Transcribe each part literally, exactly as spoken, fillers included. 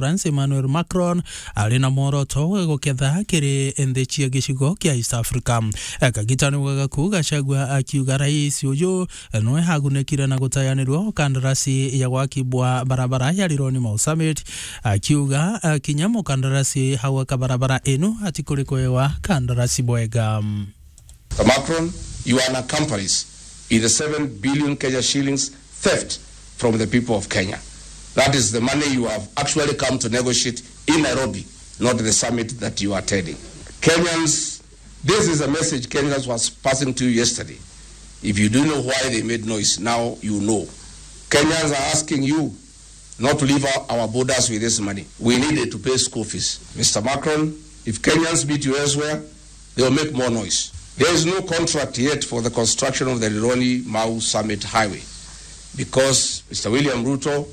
France Emmanuel Macron ari na mworoto wa guketha kiri nthi cia gicigo kia East Africa. Kagita niwe gaku Gachagua akiuga rais uyu nwe agunekire na gutayanirwa kandarasi ya gwakibwa barabara ya Rironi Mau Summit, akiuga, ah, kinya mukandarasi hau aka barabara inu atikurikwewa kandarasi bwega. Mister Macron, you are an accomplice in the seven billion Kenya shillings theft from the people of Kenya. That is the money you have actually come to negotiate in Nairobi, not the summit that you are attending. Kenyans, this is a message Kenyans was passing to you yesterday. If you do know why they made noise, now you know. Kenyans are asking you not to leave our, our borders with this money. We needed to pay school fees. Mister Macron, if Kenyans meet you elsewhere, they will make more noise. There is no contract yet for the construction of the Rironi Mau Summit Highway because Mister William Ruto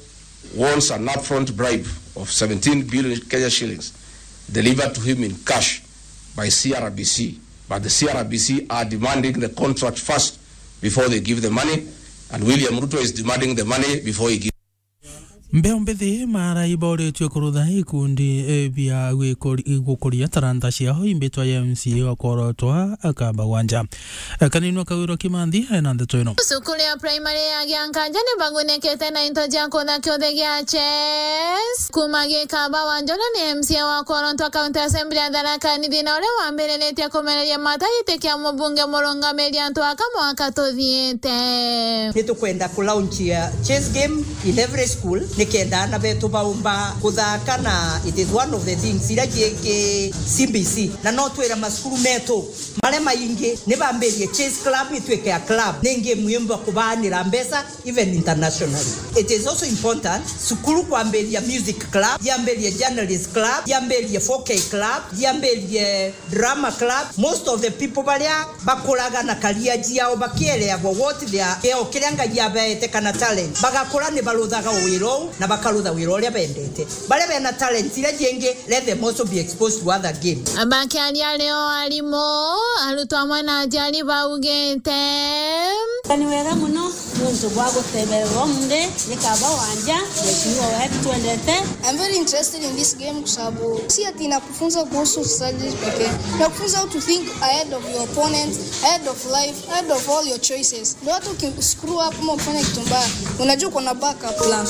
wants an upfront bribe of seventeen billion Kenya shillings delivered to him in cash by C R B C. But the C R B C are demanding the contract first before they give the money, and William Ruto is demanding the money before he gives. Mbeu mbithi mara iboretwe kurutha ikundi, eh, bia gwikori-, gukuria taranta ciao imbitwa ya M C A wa kworotwa akamba gwanja. Eh, Kaninwa Kawirwa Kimanthi ena ndeto ino. Cukuru ya primary ya Giankanja ni bagunekete na into cia kutha kiuthi gia chess. Kuma gikaba wa Njoro ni M C A wa kworotwa County Assembly ya Tharaka Nithi na uria wambiriritie kumereria mata giti kia mubunge murungamiri antu aka mwaka tuthiite. Ni tukwenda ku launch ya chess game in every school, nikenda aana betu baumba kuthaka, na it is one of the things iria ciiki C B C. Na no twira macukuru metu maria maingi ni bambirie chess club itwike a club, ni game yumba kubaanira mbeca even internationally. It is also important cukuru kwambiria music club, yambirie journalist club, yambirie four K club, yambirie drama club. Most of the people baria bakuraga na career ciao bakiereagwa what they are, kio kiria Ngai abaete kana talent, bagakura ni baruthaga wira uu na bakarutha wira uria bendete. Baria bena talent iria ciingi, let them also be exposed to other games. Bakiaria ario arimu, arutwo amwe na aciari baugite, ni wega muno niuntu bwa gutebererwa umunthi ni kaba wanja, mheshimiwa wetu twendete. I'm very interested in this game kwa sababu si ati inakufunza kuhusu strategy pekee. Inakufunza how to think ahead of your opponent, ahead of life, ahead of all your choices. Ndio hata uki-, screw up ama ufanye kitu mbaya, unajua uko na backup plan.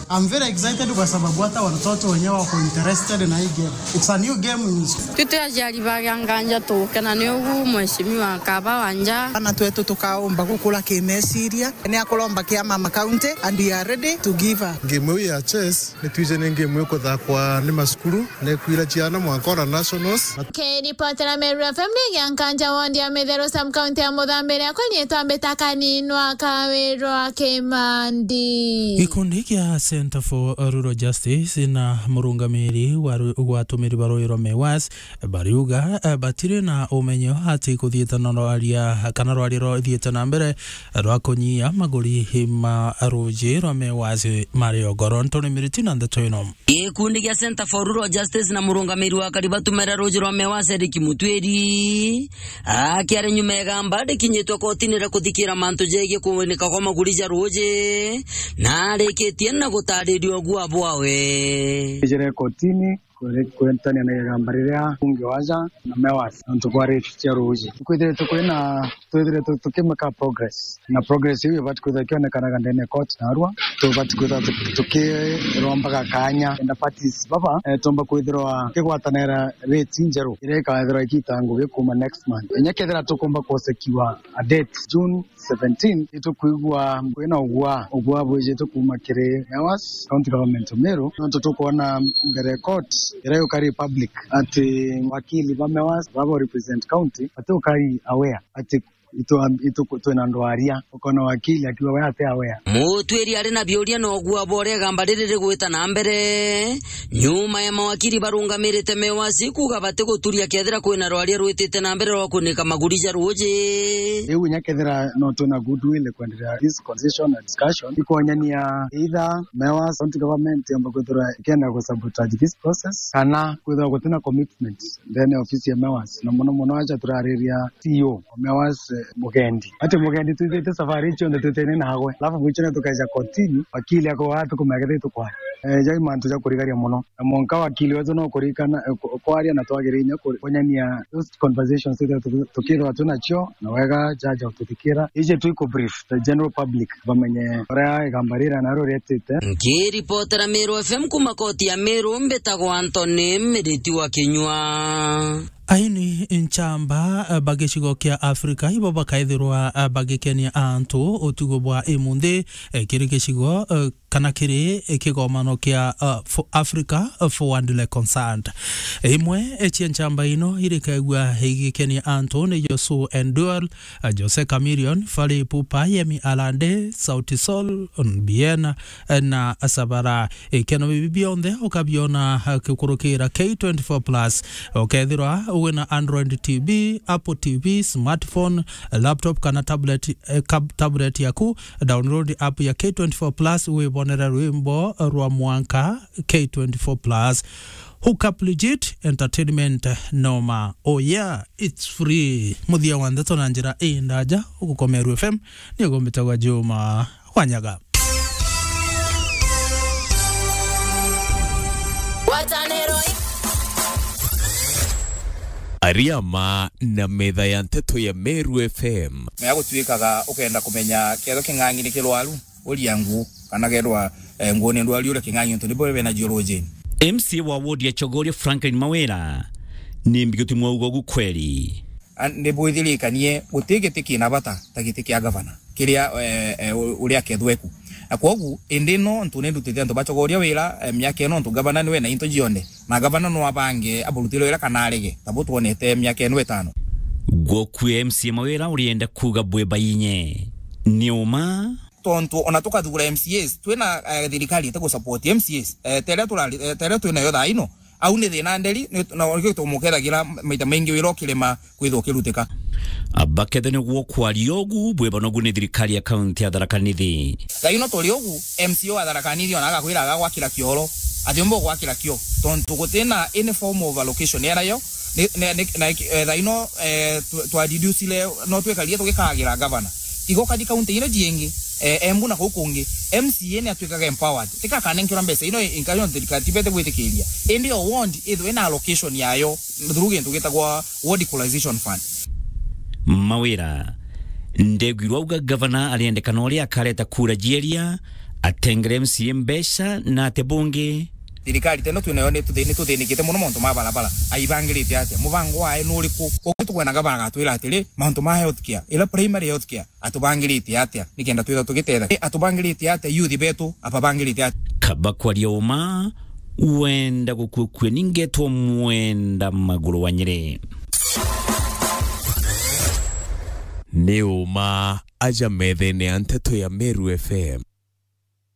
I'm very excited kwa sababu hata watoto wenyewe wako interested na hii game. It's a new game in school. Twite aciari ba Giankanja tugukena ni ugu mheshimiwa kaba wanja. Ana twetu tukaumba gukura kimeciria. Ni akuromba kia Mama County and we are ready to give her. Game iu ya chess ni twije ni game ikuthakwa ni macukuru, ni kwira ciana mwanka ona nationals. Kiripotera Meru F M ni Giankanja ward ya Mitheru sub county ya Muthambi, riakwa riitwa Mbita Kaninwa Kawirwa Kimandi. Gikundi kia Center for Rural Justice na murungamiri wa ru-, wa atumiri ba ruuji rwa Mewas bariuga, eh, batiri na umenyo ati kuthiite na rwaria kana rwaria ruthiite na mbere rwa kunyia maguri ma ruuji rwa Mewas mari o goro. Ntoni Miriti na ndeto ino. Gikundi gia Center for Rural Justice na murungamiri wa akari batumera ruuji rwa Mewas Eric Mutwiri akiaria nyuma ya igamba rikinyitwe kotini ria kuthikira mantu jegie kuwinika kwa maguri ja ruuji, na arikitie na gutariria uguaa bwawe. Ijire kotini kuri-, kwentania na igamba riria bunge wa ja na Mewas nontu bwa rape cia ruuji. Kwithiritwe kwina, twithiritwe tukimeka progress, na progress iu ibati kwithirwa ikionekanaga ndene ya court narua. Tubati kwithirwa tu-, tukirombaga kanya kenda parties baba, eh, tumba kwithirwa tukigwatanira rate njeru iria ikathirwa ikiita ngugi kuuma next month. Inya kethira tukumba kusekiwa a date June seventeen, itukwigua kwina ugua, ugua bwijite kuuma kiri Mewas, County Government of Meru, nontu tukwona mbere court iria yukari public ati wakili ba Mewas baba represent county batiukari aware ati itu, itu, twina ndwaria, ukona wakili akiuga we ati aware. Mutwiri ari na biuria na ugua bwa uria igamba riri rigwita na mbere. Nyuma ya mawakili barungamirite Mewas kuuga batiguturia kethira kwina rwaria rwitite na mbere rwa kunika maguri ja ruuji. Riu inya kethira no twina goodwill kwenderea this conversation na discussion, ikwonyania either Mewas County Government yomba kwithirwa ikenda ku sabotage this process, kana kwithirwa gutina commitment ndene ya ofisi ya Mewas, na muno muno aja turariria C E O wa Mewas, eh, Mugendi. Ati mugendi twithite safari cionthe twitene nagwe. Alafu mwicho na tukaja kotini, wakili ako watu kumekete tukwa. Eh, jai mantu ja kurigaria muno. Na mwanka wakili wetu no kurikana, eh, ku-, kwaria na twagirinya ku-, kunyania those conversations tuti-, tuti-, tukirwa tu nacio, na wega jaja ututhikira. Ije twi ku brief the general public, bamenye uria igamba rira naro rietite. Nkiripotera Meru F M kuma koti ya Meru, mbitagwa Anthony Miriti wa Kinyua. Aini nchamba, eh, ba gicigo kia Afrika ibo bakaithirwa, eh, bagikenia antu utugo bwa imunthi, eh, kiri gicigo, eh, kana kiri, eh, kigomano kia, eh, fo-, Africa, eh, Forward Reconciled. Imwe, eh, cia nchamba ino irikaigua igikenia antu ni Josu Endual, eh, Jose Chameleone, Fally Ipupa, Yemi Alade, Sauti Sol, Bien, eh, na Sabara. Ikeno bibi bionthe ukabiona, eh, kikurukira K twenty-four plus. Ukethirwa wina Android T V, Apple T V, smartphone, laptop kana tablet, eh, kab-, tablet yaku, download app ya K twenty-four plus, wibonere rwimbo rwa mwanka K twenty-four plus. Hook up legit entertainment noma. Oh yeah, it's free. Muthia wa ndeto na njira indaja, ugukomeru F M, ni ugumbitagwa Juma Wanyaga. Ariama na metha ya nteto ya Meru F M. Mea gutwikaga ukenda kumenya ketho king'ang'i ni kirwaru, uria nguu, kana kethwa, eh, nguu ni ndwaru uria king'ang'i untu nibo bena jiurujini. M C A wa ward ya Chogoria Franklin Mawira ni mbiguti mwauga ugu kweli. A, ni bwithirikanie guti giti kina bata ta giti kia gavana. Kiria, eh, eh, u-, uria kethweku. Na kwogu, indi no ntu ni ndutite antu bachogoria wira, eh, miaka ino ntu gavana niwe na into jionthe. Na gavana no abange aburutire wira kana arege, ta bu twonete miaka ino itano. Gwoku M C A Mawira urienda kuuga bwi bainye. Ni uma? Tontu ona tukathugura M C As, twina, eh, thirikari ite gu support M C As. Eh, teria turari, eh, teria twinayo thaa ino, au ni thina nderi, ni, na nikio tumukethagira maita maingi wira ukirema kwithwa ukirutika. Abakethe niguo kwaria ugu, bwibanogu ni thirikari ya kaunti ya Tharaka Nithi. Thaa ino turi ugu, M C A wa Tharaka Nithi ona agakwira agagwakira kioro, atiumba gwakira kio, tontu gutina any form of allocation enayo, ni, ni, ni, na, eh, thaa ino, eh, twa, twa deducile, no twekarie tugikagira gavana. Igo kathi kaunti ino jiingi, eh, Embu na kuu kungi, M C A ni atwikaga empowered. Tika akanenkerwa mbeca ino inkayo thirikari tibete gwitikiria. Indi o ward ithwe ina allocation yayo through gintu gitagwa ward equalization fund. Mawira, ndegwirwa auga gavana ariendekana uria akareta kura jieria, atengere M C A mbeca na ate bungi. Thirikari teno twinayo ni tuthi-, ni tuthinikite muno mauntu ma barabara. Aibangirite atia? Mubango wae ni uriku? Uku tukwenda gavana agatwira atiri, mauntu ma health care, ila primary health care, atubangirite atia nikenda twithwa tugitetheka? Atubangirite atia youth betu? Ababangirite atia? Kaba kwaria uma, wenda gukuukue ningetwa mwenda maguru wa Nyeri. Ni uma aja methene ya nteto ya Meru F M.